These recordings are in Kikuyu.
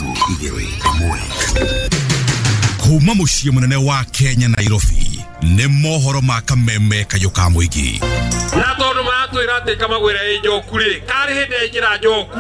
3 1. Kuma muciĩ mũnene wa Kenya Nairobi nĩ mohoro ma kameme kayũ ka mũingĩ. Na tondu maratwĩra atĩ kamagwĩra ĩ njoku rĩ, karĩ hĩndĩ yaingĩra njoku.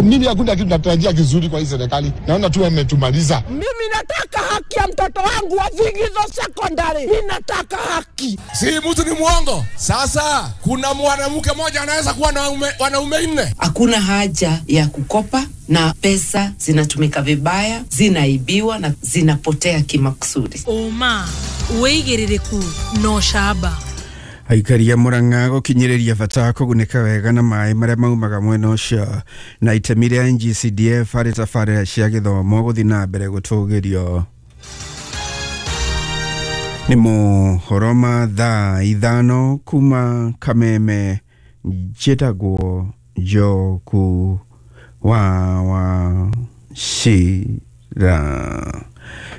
Mimi hakuna kitu natarajia kizuri kwa hii serikali, naona tu wametumaliza. Mimi nataka haki ya mtoto wangu wa Vigizo Secondary, mimi nataka haki. Si mtu ni mwongo. Sasa kuna mwanamke mmoja anaweza kuwa na wanaume 4. Hakuna haja ya kukopa na pesa zinatumika vibaya, zinaibiwa na zinapotea kimakusudi. Oma wĩigĩrĩrĩku no camba. Aikari a Murang'a gũkinyĩrĩria bata wa kũgunĩka wega na maĩ marĩa maumaga mwena ũcio na itemi rĩa NGCDF harĩ tabarĩra cia gĩthomo gũthiĩ na mbere gũtũgĩrio. Nĩ mohoro ma thaa 5 kuma Kameme, njĩtagwo Njoku wa Wachira.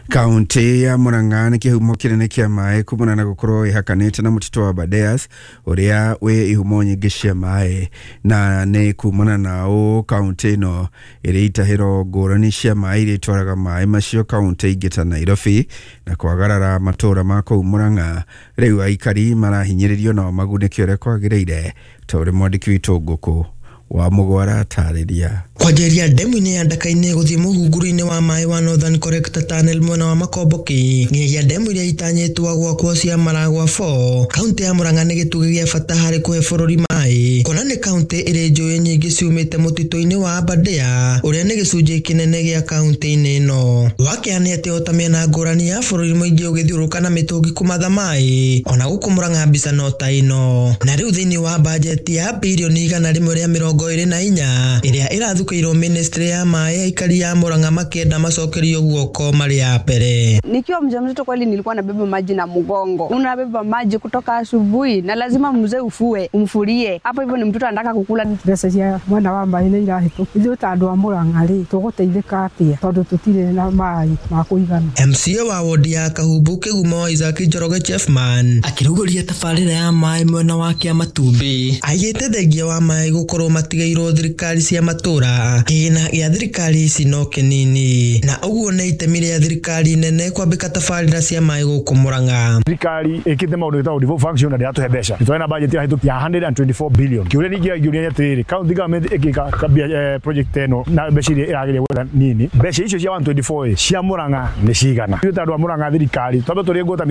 Kaunti ya Murang'a nĩ kĩhumo kĩnene kĩa maĩ kumana na gũkorwo ĩhakanĩte na mũtitũ wa Aberdares ũrĩa wĩ ihumo nyingĩ cia maĩ, na nĩ kumana na ũũ kaunti ĩno ĩrĩ itahĩro ngũrani cia maĩ iria itwaraga maĩ macio kaunti ingĩ ta Nairobi na kwagarara matũũra ma kũu Murang'a. Rĩu aikari marahinyĩrĩrio nao magunĩke ũrĩa kwagĩrĩire, ta ũrĩa mwandĩki witũ Ngũkũ wa Mũgwara atarĩria. Kwanjĩrĩria ndemu-inĩ ya Ndaka-inĩ gũthiĩ mũhunguru-inĩ wa maĩ wa Northern Collector Tunnel mwena wa Makomboki nginyagia ndemu iria itanyĩtwo gwakwo cia Maragwa 4, kaunti ya Murang'a nĩ gĩtugĩ gĩa bata harĩ kũhe bũrũri maĩ, kuona nĩ kaunti ĩrĩ njũĩ nyingĩ ciumĩte mũtitũ-inĩ wa Aberdare ũrĩa nĩ gĩcunjĩ kĩnene gĩa kaunti-inĩ ĩno. Wakĩa nĩ atĩ ota mĩena ngũrani ya bũrũri mũingĩ ũgĩthiũrũrũka na mĩtũngi kũmatha maĩ, ona gũkũ Murang'a mbica no ta ĩno. Na rĩu thĩinĩ wa bajeti ya birioni 124 ĩrĩa ĩrathukĩirwo ministry ya maĩ, aikari ya Murang'a makĩenda macokerio guoko marĩ ya mbere. Nikiwa mjamzito kweli nilikuwa nabeba maji na mgongo. Unabeba maji kutoka asubuhi na lazima mzee ufue, umfurie. Hapo hivyo ni mtoto anataka kukula. Mbeca cia mwena wa maĩ nĩ irahĩtũka. Ithuĩ ta andũ a Murang'a rĩ, tũgũteithĩka atĩa tondũ tũtirĩ na maĩ ma kũigana. MCA wa wodi ya Kahumbu Kĩgumo Isaac Njoroge Chefman akĩrugũria tabarĩra ya maĩ mwena wa Kĩamatumbĩ aigĩte thengia wa maĩ gũkorwo matigairwo thirikari cia matũra, kĩgĩna gĩa thirikari ici no kĩnini, na ũguo nĩ itemi rĩa thirikari nene kwambĩka tabarĩra cia maĩ gũkũ Murang'a. Thirikari ĩkĩte maũndũ ĩtagwo devolved function na ndĩratũhe mbeca. Nĩ twarĩ na budget ĩrahĩtũkia ya 124 billion. Kĩũria ningĩ ngĩũria nĩ atĩrĩrĩ, county government ĩngĩka project ĩno na mbeca iria ĩragĩria gwetha nini, mbeca icio cia 124 cia Murang'a nĩ cigana? Ithuĩ ta andũ a Murang'a thirikari twambe tũrĩe ngũta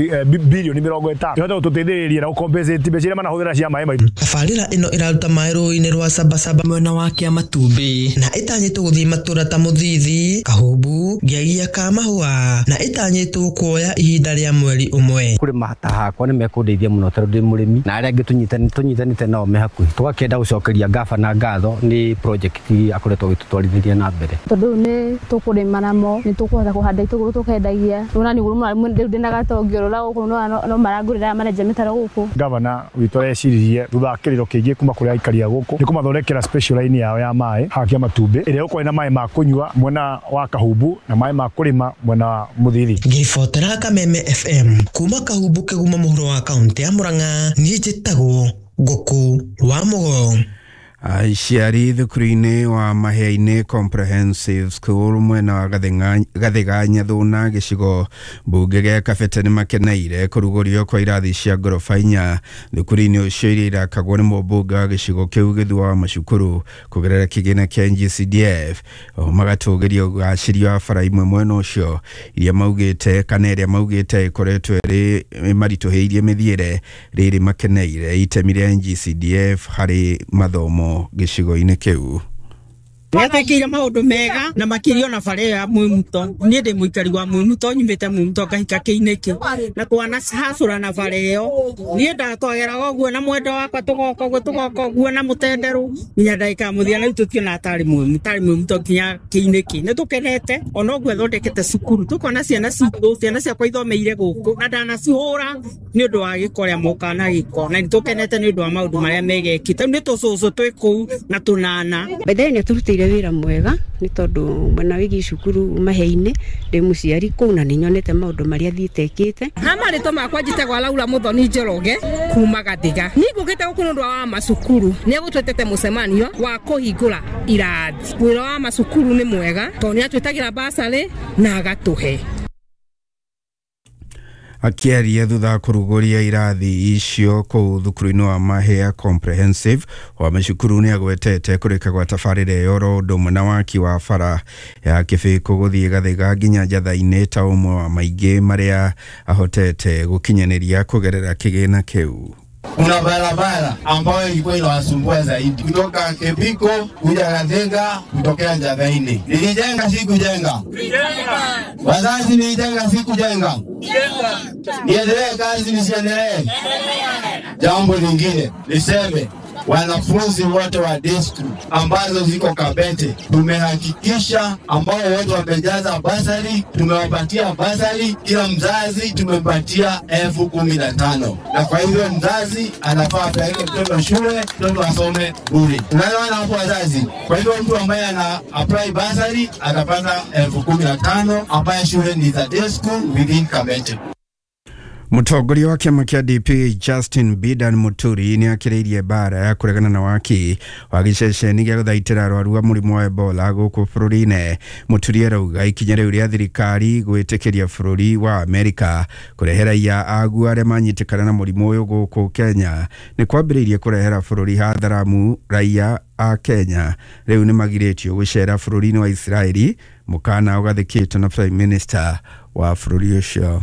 bilioni 50 ĩhote gũtũteithĩrĩria na gũcompensate mbeca iria manahũthĩra cia maĩ maitũ. Tabarĩra ĩno ĩraruta maĩ rũĩ-inĩ rwa Sabasaba mwena wa Kĩamatumbĩ na ĩtanyĩtwo gũthiĩ matũra ta Mũthithi, Kahumbu, Ngiagia ka Mahũa na ĩtanyĩtwo kuoya ihinda rĩa mweri ũmwe. Kũrĩma ta hakwa nĩ mekũndeithia mũno tondũ ndĩ mũrĩmi na arĩa angĩ tũnyitanĩte nao me hakuhĩ. Tũgakĩenda gũcokeria gavana ngatho nĩ project akoretwo agĩtũtwarithĩria na mbere. Tondũ rĩu nĩ tũkũrĩma namo, nĩ tũkũhota kũhanda itũngũrũ tũkendagia. Rĩu nĩ rĩu ndĩna gatongĩ ũrora gũkũ no marangũrĩra marenja mĩtaro gũkũ. Gavana witũ areciririe thutha wa kĩrĩro kĩingĩ kuma kũrĩ aikari a gũkũ nĩ kũmathondekera special line yao ya maĩ haha Kĩamatumbĩ ĩrĩa ĩgũkorwo ĩna maĩ ma kũnyua mwena wa Kahumbu na maĩ ma kũrĩma mwena wa Mũthithi. Ngĩribotera Kameme FM kuma Kahumbu Kĩgumo mũhuro wa kaunti ya Murang'a, niĩ njĩtagwo Ngũkũ wa Mũgo. Aciari thukuru-inĩ wa Mahĩa-inĩ Comprehensive School mwena wa Gathĩga Nyathuna gĩcigo mbunge gĩa Kabete nĩ makeneire kũrugũrio kwa irathi cia ngoroba 4 thukuru-inĩ ũcio iria irakagwo nĩ mũmbunge wa gĩcigo kĩu Gĩthua wa Macukuru kũgerera kĩgĩna kĩa NGCDF. Oho magatũgĩria ũgacĩria wa bara imwe mwena ũcio iria maugĩte kana ĩrĩa maugĩte ĩkoretwo ĩrĩ ĩmaritũhĩirie mĩthiĩre, rĩrĩ makeneire itemi rĩa NGCDF harĩ mathomo gĩcigo-inĩ kĩu. Nĩatwĩkĩire maũndũ mega na makĩria ona bara ĩyo ya Mwĩmuto. Niĩ ndĩ mũikari wa Mwĩmuto, nyumĩte Mwĩmuto ngahika Kĩinĩkĩ na twanacacũra na bara ĩyo. Niĩ ndatwageraga ũguo na mwendwa wakwa tũgoka ũguo tũgoka ũguo na mũtenderũ nginya ndagĩka ya mũthia, na rĩu tũtiona tarĩ Mwĩmuto nginya Kĩinĩkĩ. Nĩ tũkenete ona ũguo athondekete cukuru, tũkona ciana citũ, ciana ciakwa ithomeire gũkũ na ndanacihũra nĩ ũndũ wa gĩko ũrĩa mokaga na gĩko, na nĩ tũkenete nĩ ũndũ wa maũndũ marĩa mega ekĩte. Rĩu nĩ tũcũcũ twĩ kũu na tũnana. By the way, nĩ atũrutĩire Arutire wĩra mwega nĩ tondũ mwena wĩgiĩ cukuru Mahia-inĩ ndĩ mũciari kũu na nĩ nyonete maũndũ marĩa athiĩte ekĩte. Ha marĩtwa makwa njĩtagwo Laura Muthoni Njoroge kuma Gathiga. Niĩ ngũkĩte gũkũ nĩ ũndũ wa macukuru. Nĩ egũtwĩtĩte mũcemanio wa kũhingũra irathi. Wĩra wa macukuru nĩ mwega tondũ nĩ atwĩtagĩra basarĩ na agatũhe. Akĩaria thutha wa kũrugũria irathi icio kũu thukuru-inĩ wa Mahia Comprehensive wa macukuru nĩ agwetete kũrĩka gwa tabarĩra ĩyo oro ũndũ ũmwe na waki wa bara ya Kĩbĩko gũthiĩ Gathiga nginya Njatha-inĩ ta ũmwe wa maingĩ marĩa ahotete gũkinyanĩria kũgerera kĩgĩna kĩu. Kuna barabara ambayo ilikuwa inawasumbua zaidi kutoka Kebiko kuja Gathiga kutokea Njathaini. Nilijenga si kujenga? Wazazi, nilijenga si kujenga? Niendelee kazi nisiendelee? Jambo lingine niseme, wanafunzi wote wa district ambazo ziko Kabete tumehakikisha ambao wote wamejaza basari, tumewapatia basari. Kila mzazi tumempatia 15,000, na kwa hivyo mzazi anafaa apeleke mtoto shule, mtoto asome bure. Tunaelewana hapo wazazi? Kwa hivyo mtu ambaye ana apply basari atapata 15,000 ambaye shule ni za day school within Kabete. Mũtongoria wa kĩama kĩa DP Justin Bidan Muturi nĩ akĩrĩirie mbara ya kũregana na waki wa gĩceceni gĩa gũthaitĩra arwaru a mũrimũ wa Ebola gũkũ bũrũri-inĩ. Muturi arauga ikinya rĩu rĩa thirikari gwĩtĩkĩria bũrũri wa Amerika kũrehe raia aguo arĩa manyitĩkana na mũrimũ ũyũ gũkũ Kenya nĩ kwambĩrĩirie kũrehera bũrũri hatharamu. Raia a Kenya rĩu nĩ magirĩtio gũcera bũrũri-inĩ wa Israeli, mũkana ũgathĩkĩtwo na Prime Minister wa bũrũri ũcio.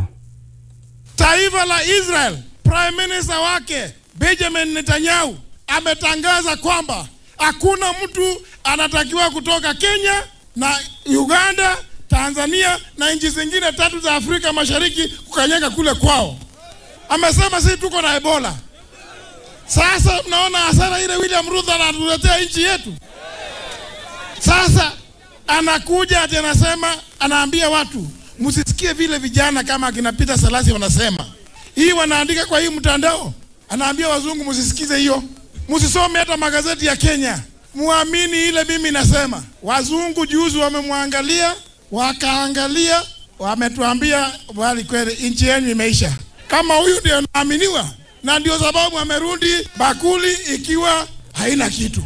Taifa la Israel, Prime Minister wake Benjamin Netanyahu ametangaza kwamba hakuna mtu anatakiwa kutoka Kenya na Uganda, Tanzania na nchi zingine tatu za Afrika Mashariki kukanyaga kule kwao. Amesema sisi tuko na Ebola. Sasa mnaona hasara ile William Ruto anatuletea nchi yetu. Sasa anakuja ati anasema, anaambia watu msisikie vile vijana kama akina Peter Salasi wanasema. Hii wanaandika kwa hii mtandao. Anaambia wazungu msisikize hiyo. Msisome hata magazeti ya Kenya. Muamini ile mimi nasema. Wazungu juzi wamemwangalia, wakaangalia, wametuambia bali kweli nchi yenu imeisha. Kama huyu ndio anaaminiwa, na ndio sababu amerudi bakuli ikiwa haina kitu.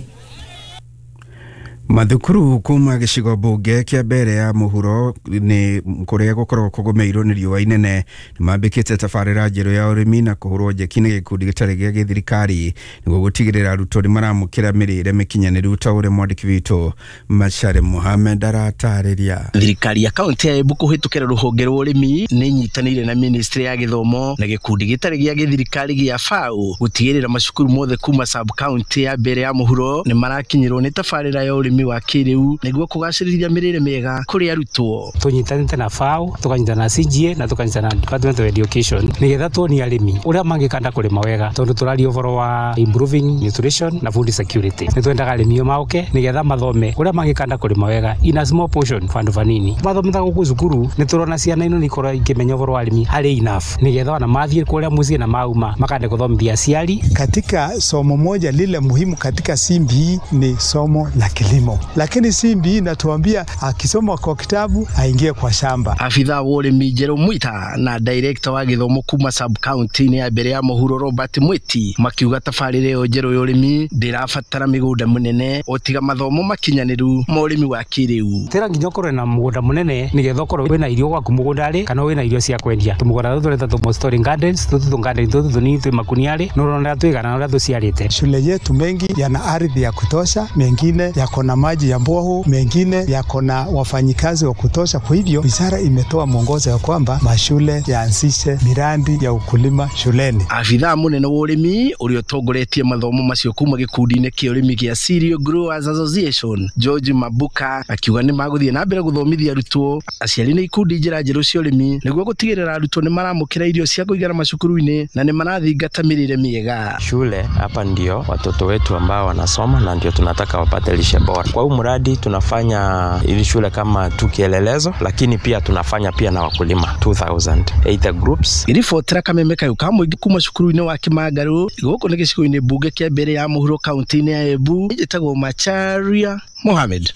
Mathukuru kuma gĩcigo mbunge kĩa mbere ya mũhuro nĩ kũrĩa gũkoragwo kũgũmĩirwo nĩ riũa inene nĩ mambĩkĩte tabarĩra njerũ ya ũrĩmi na kũhũrwo njeki nĩ gĩkundi gĩtarĩ gĩa gĩthirikari nĩguo gũtigĩrĩra arutwo nĩ maramũkĩra mĩrĩre mĩkinyanĩru ta ũrĩa mwandĩki witũ Machare Mohamed aratarĩria. Thirikari ya kaunti ya Embu kũhĩtũkĩra rũhonge rwa ũrĩmi nĩ ĩnyitanĩire na ministry ya gĩthomo na gĩkundi gĩtarĩ gĩa gĩthirikari gĩa FAO gũtigĩrĩra macukuru mothe kuma sub county ya mbere ya mũhuro nĩ marakinyĩrwo nĩ tabarĩra ya ũrĩmi wa kĩrĩu nĩguo kũgacĩrithia mĩrĩre mĩega kũrĩ arutwo. Tũnyitanĩte na FAO, tũkanyitana na CGA na tũkanyitana na Department of Education nĩgetha tuonie arĩmi ũrĩa mangĩkanda kũrĩma wega, tondũ tũraria ũhoro wa improving nutrition na food security. Nĩ twendaga arĩmi maũke nĩgetha mathome ũrĩa mangĩkanda kũrĩma wega in a small portion, bandũ vanini. Mathomitha gũkũ cukuru nĩ tũrona ciana ino nĩ ikorwo ikĩmenya ũhoro wa arĩmi harĩ enough nĩgetha ona mathiĩ kũrĩa mũciĩ na mauma makande kũthomithia aciari. Katika somo moja lile muhimu katika CBE ni somo la kilimo, lakini CBE inatuambia akisoma kwa kitabu aingie kwa shamba. Afitha wa ũrĩmi Njerũ Mwita na director wa gĩthomo kuma sub county ya mbere ya mũhuro Robert Mwiti makiuga tabarĩra ĩyo njerũ ya ũrĩmi ndĩrabatara mĩgũnda mũnene o tiga mathomo makinyanĩru ma ũrĩmi wa kĩrĩu. Tĩra nginya ũkorwe na mũgũnda mũnene nĩgetha ũkorwe wĩna irio gwaku mũgũnda-rĩ kana wĩna irio cia kwendia. Tũmũgũnda tũtũ tũreta tũ storing gardens, tũtũ tũ garden tũtũ tũnini twĩ makunia-rĩ, nĩ ũrona ũrĩa twĩgana na ũrĩa tũciarĩte. Shule yetu mengi yana ardhi ya kutosha, mengine yako na maji ya mboho, mengine yako na wafanyikazi wa kutosha. Kwa hivyo wizara imetoa mwongozo ya kwamba mashule yaanzishe miradi ya ukulima shuleni. Afitha munene wa ũrĩmi ũrĩa ũtongoretie mathomo macio kuma gĩkundi-inĩ kĩa ũrĩmi gĩa Cereal Growers Association George Mabuka akiuga nĩ magũthiĩ na mbere gũthomithia arutwo, aciari na ikundi njĩra njerũ cia ũrĩmi nĩguo gũtigĩrĩra arutwo nĩ maramũkĩra irio cia kũigana macukuru-inĩ na nĩ marathingata mĩrĩre mĩega. Shule hapa ndio watoto wetu ambao wanasoma na ndio tunataka wapate lishe bora. Kwa huu mradi tunafanya ili shule kama tu kielelezo, lakini pia tunafanya pia na wakulima 2000 groups. Iribotera kameme kayo ka mũingĩ kuma cukuru-inĩ wa Kĩmangarũ gũkũ nĩ gĩcigo-inĩ mbunge kĩa mbere ya mũhuro kaunti-inĩ ya Embu. Njĩtagwo Macharia Mohamed.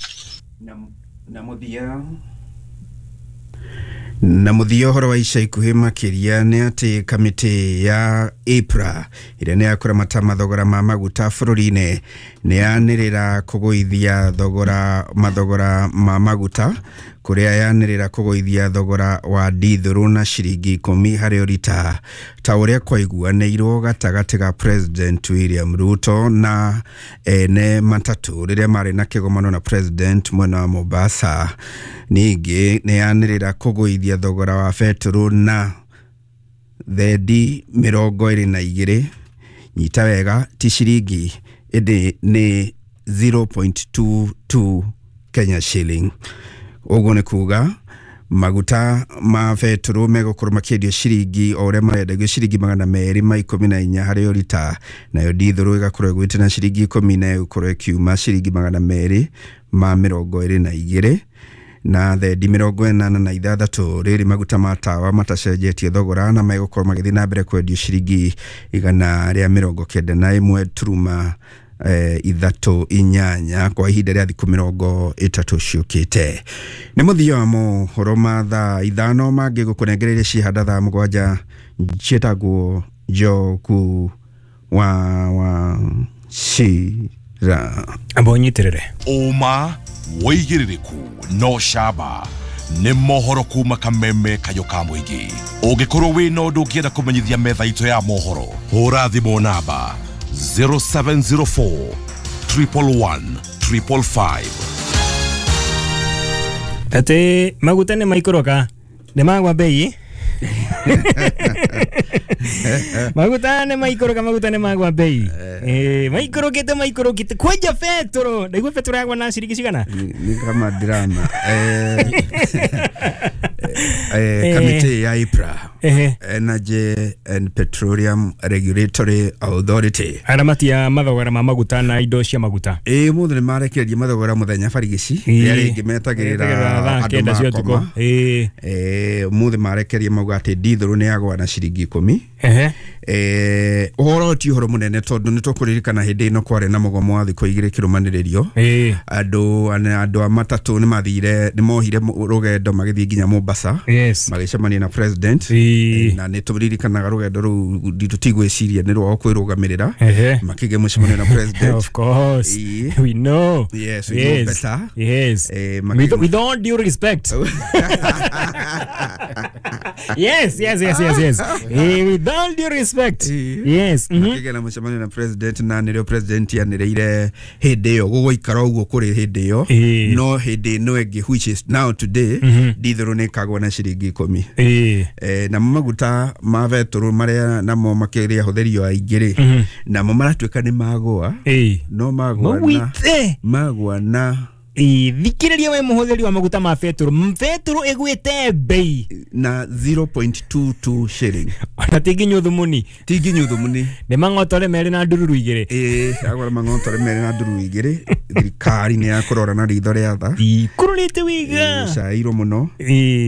Na mũthia ũhoro wa ica ikuhĩ makĩria nĩ atĩ kamĩtĩ ya EPRA ĩrĩa nĩ ya kũramata mathogora ma maguta bũrũri-inĩ nĩ yanĩrĩra kũgũithia thogora mathogora ma maguta kũrĩa yanĩrĩra kũgũithia thogora wa ndithũrũ na ciringi 10 harĩ ũrita ta ũrĩa kwaiguanĩirwo gatagatĩ ga President William Ruto na ene matatũ rĩrĩa marĩ na kĩgomano na President mwena wa Mombasa. Ningĩ nĩ yanĩrĩra kũgũithia thogora wa betũrũ na thendi 22, nyita wega ti ciringi ĩndĩ nĩ 0.22 Kenya shilling. Ũguo nĩ kuga maguta ma betũrũ megũkorwo makĩendio ciringi o ũrĩa marendagio ciringi 214 harĩ ũrita, nayo ndithũrũ ĩgakorwo ĩgwĩte na ciringi 10 na ĩgũkorwo ĩkiuma ciringi 222 na thendi 86. Rĩrĩ maguta ma tawa matacenjetie thogora na megũkorwo magĩthiĩ na mbere kwendio ciringi 191 turuma 38 kwa ihinda rĩa thikũ 30 ciũkĩte. Nĩ mũthia wa mohoro ma thaa 5 mangĩ gũkũnengereire cihanda thaa 7 ciĩtagwo Njoku wa Wachira. Amba ũnyitĩrĩre ũma wĩigĩrĩrĩku no camba nĩ mohoro kuma kameme kayo ka mũingĩ. Ũngĩkorwo wĩna ũndũ ũngĩenda kũmenyithia metha itũ ya mohoro, hũra thimũ namba 0704 111 555. Ati maguta nĩ maikũrũka nĩ magwa bei. Maguta nĩ maikũrũka, maguta nĩ magwa bei. Maikũrũkĩte kwenja betũrũ. Ndaigua betũrũ yagwa na ciringi cigana? Ni kama drama. Kamĩtĩ ya EPRA, Energy and Petroleum Regulatory Authority, aramati ya mathogora ma maguta na indo cia maguta. Mũthĩ nĩ marekereria mathogora mũthenya barigici rĩrĩa rĩngĩ metagĩrĩra andũ makoma. Mũthĩ marekereria mauga atĩ ndithũrũ nĩ yagwa na ciringi 10. Ũhoro ti ũhoro mũnene tondũ nĩ tũkũririkana hĩndĩ ĩno kwarĩ na mũgomo wa thikũ 2 kĩrũmanĩrĩrio. Andũ a matatũ nĩ mathire, nĩ mohire rũgendo magĩthiĩ nginya Mombasa, magĩcemania na president, na nĩ tũririkanaga rũgendo rũu tũtigwĩciria nĩ rwao kwĩrũgamĩrĩra, makĩgĩa mũcemanio na president. Of course, we know. Yes, we know better. Yes. With all due respect. Yes. With all due respect. Yes. Makĩgĩa na mũcemanio na president, na nĩrĩo president yanĩrĩire hĩndĩ ĩyo gũgũikara ũguo kũrĩ hĩndĩ ĩyo, no hĩndĩ ĩno ĩngĩ which is now today ndithũrũ nĩ ĩkagwa na ciringi 10. Namo maguta ma betũrũ marĩa namo makĩrĩa ahũthĩri aingĩ rĩ, namo maratuĩka nĩ magũa, no magũa na thikĩrĩria we mũhũthĩri wa maguta ma betũrũ, betũrũ ĩgwĩte bei na 0.22 shilling. Ona ti nginya ũthumuni, ti nginya ũthumuni, nĩ mang'otore merĩ na ndururu 2. Agora mang'otore merĩ na ndururu 2. Thirikari nĩ yakũrora na ritho rĩa tha, ikũrũrĩte wega, cairwo mũno,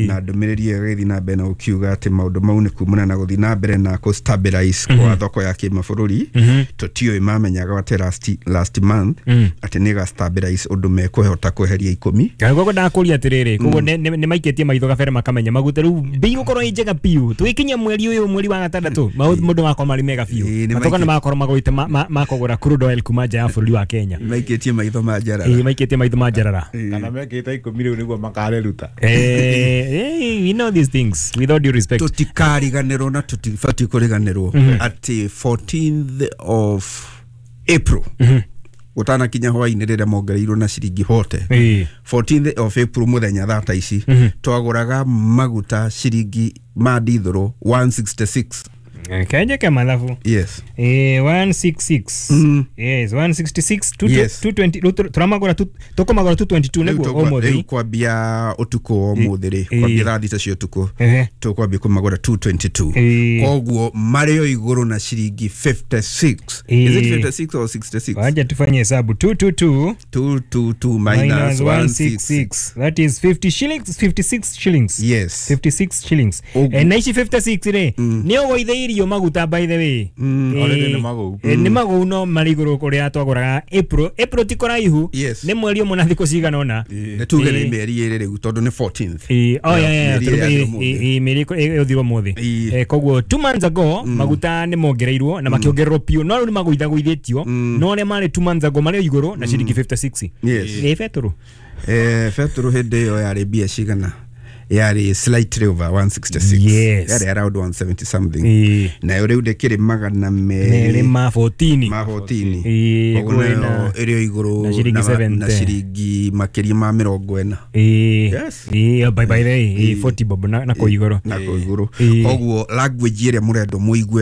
na ndũmĩrĩri ĩyo ĩgĩthiĩ na mbere na gũkiuga atĩ maũndũ mau nĩ kumana na gũthiĩ na mbere na kũ stabilize kwa thoko ya kĩmabũrũri. Tũtiũĩ mamenyaga atĩ last month atĩ nĩ ĩga stabilize ũndũ mekũhota kweheria 10. Koguo ndakũria atĩrĩrĩ, koguo nĩ maikĩtie maitho gabere makamenya maguta rĩu bei gũkorwo ĩ njega biũ. Tũgĩkinya mweri ũyũ, mweri wa gatandatũ, maũndũ makorwo marĩ mega biũ. Matoka nĩ makorwo magũĩte makũgũra crude oil kuma nja ya bũrũri wa Kenya. Maikĩtie maitho ma njarara. Maikĩtie maitho ma njarara. Kana mekĩte 10 rĩu nĩguo makareruta. We know these things with all due respect. Tũtikariganĩrwo na tũtibatiĩ kũriganĩrwo atĩ 14th of April gũtanakinya hwainĩ rĩrĩa mongereirwo na ciringi 40, 14th of April mũthenya thaa ta ici twagũraga maguta ciringi ma ndithũrũ 166. Kenjeke mathabu. Yes. 166. Yes, 166 220 turamagura tukomagura 222 niguo umuthi. Rĩu kwambia ũtukũ ũmũthĩ rĩ, kwambia thaa 3 cia ũtukũ tũkwambia kũmagũra 222, koguo marĩ o igũrũ na ciringi 56. Is it 56 or 66? Wacha tufanye hesabu. 222 222 minus 166, that is 50 shillings, 56 shillings. Yes, 56 shillings. Na ici 56 rĩ, nĩ ũgũithĩirio maguta, by the way. Already nĩ magũu. Nĩ magũu, no marĩ igũrũ kũrĩa twagũraga April. April ti kũraihu, nĩ mweri ũmwe na thikũ cigana ũna. Nĩ tuge nĩ mĩeri 2 rĩu tondũ nĩ 14th. Oh, yeah, mĩeri ĩthirwo ũmũthĩ. Koguo 2 months ago maguta nĩ mongereirwo na makĩongererwo piũ, no rĩu nĩ magũithagũithĩtio, no arĩa marĩ 2 months ago marĩ igũrũ na ciringi 56. Yes. Nĩ betũrũ. Betũrũ hĩndĩ ĩyo yarĩ mbia cigana? Yarĩ slightly over 166. Yes. Yarĩ around 170 something. Nayo rĩu ndĩkĩrĩ magana merĩ ma 14. Ma 14. Koguo nayo ĩrĩ o igũrũ na ciringi makĩria ma 40. Yes. By the way, 40 bob na kũu igũrũ. Na kũu igũrũ. Koguo language ĩrĩa mũrendwo mũigue.